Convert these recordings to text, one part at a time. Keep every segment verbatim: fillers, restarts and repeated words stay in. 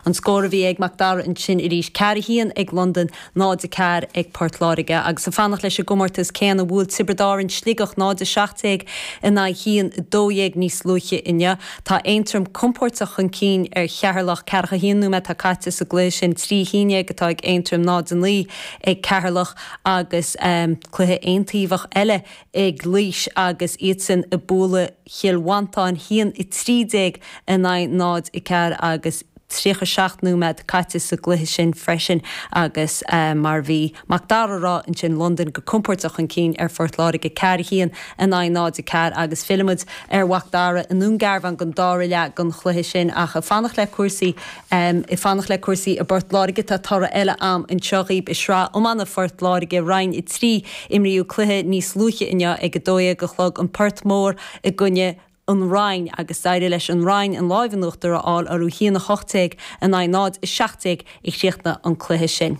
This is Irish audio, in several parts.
An scór a bhí ag Mac Dara ansin arís ceathair a haon ag Londain náid a ceathair ag Port Láirge agus ag fanacht leis an gcomórtas céanna bhuail Tiobraid Árann Sligeach náid a seacht déag in aghaidh haon dó dhéag níos luaithe inniu. Tá Aontroim compordach chun cinn ar Cheatharlach ceathracha haon nóiméad atá caite sa gcluiche sin trí haon déag atá ag Aontroim náid a naoi ag Ceatharlach agus um, cluiche aontaobhach eile ag Laois agus iadsan ag bualadh Chill Mhantáin haon a trí déag in aghaidh náid a ceathair agus tríocha seacht nóiméad caite sa gcluiche sin freisin agus uh, mar bhí Mac Dara ag rá ansin Londain go compordach chun cinn ar Phort Láirge ceathair a haon in aghaidh náid a ceathair agus fillfimid ar Mhac Dara i nDún Garbhán don dara leath den chluiche sin ach ag fanacht le cúrsaí um, ag fanacht le cúrsaí i bPort Láirge tá toradh eile agam anseo daoibh i sraith iomána Phort Láirge Roinn a trí imríodh cluiche níos luaithe inniu ag a dó dhéag a chlog an Port Mór i gcoinne an Rinn agus d'éirigh leis an Rinn an lámh in uachtar a fháil orthu haon a hocht déag in aghaidh náid a seacht déag a chríochnaigh an cluiche sin.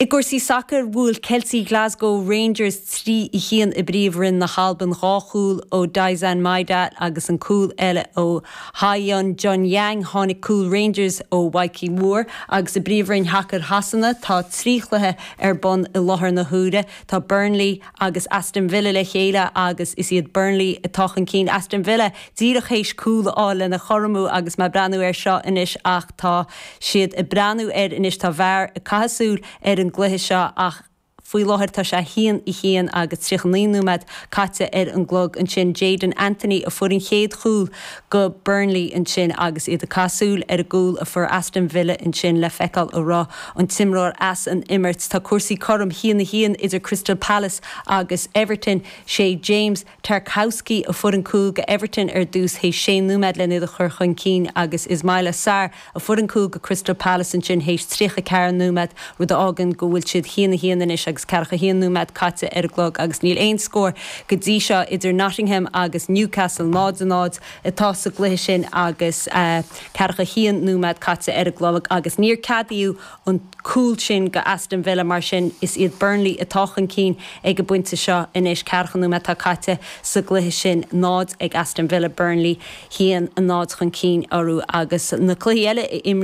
I gcúrsaí sacair bhuail Kelty Glasgow Rangers trí a haon i bPríomhroinn na hAlban dhá chúl ó Daizen Maeda agus an cúl eile ó Hyun Jun Yang tháinig cúl Rangers ó Mikey Moore agus i bPríomhroinn shacair Shasana tá trí chluiche ar bun i láthair na huaire tá Burnley agus Aston Villa le chéile agus is iad Burnley atá chun cinn Aston Villa díreach théis cúl a fháil lena chothromú agus mé ag breathnú air seo anois ach tá siad ag breathnú air anois tá VAR ag caitheamh súil ar an gcluiche seo ach faoi láthair tá sé haon a haon agus tríocha naoi nóiméad caite ar an gclog ansin Jaidon Anthony a fuair an chéad chúl go Burnley ansin agus iad ag caitheamh súil ar an gcúl a fuair Aston Villa ansin le feiceáil an raibh an t-imreoir as an imirt tá cúrsaí cothrom haon a haon idir Crystal Palace agus Everton sé James Tarkowski a fuair an cúl go Everton ar dtús théis sé nóiméad lena iad a chur chun cinn agus Ismaila Sarr a fuair an cúl go Crystal Palace ansin théis tríocha ceathair nóiméad rud a fhágann go bhfuil siad haon a haon anois agus ceathracha haon nóiméad caite ar an gclog agus níl aon scór go dtí seo idir Nottingham agus Newcastle náid a náid atá sa gcluiche sin agus uh, ceathracha haon nóiméad caite ar an gclog agus níor ceadaíodh an cúl sin go Aston Villa mar sin is iad Burnley atá chun cinn ag an bpointe seo anois ceathracha nóiméad atá caite sa gcluiche sin náid ag Aston Villa Burnley haon a náid chun cinn orthu agus na cluichí eile a imríodh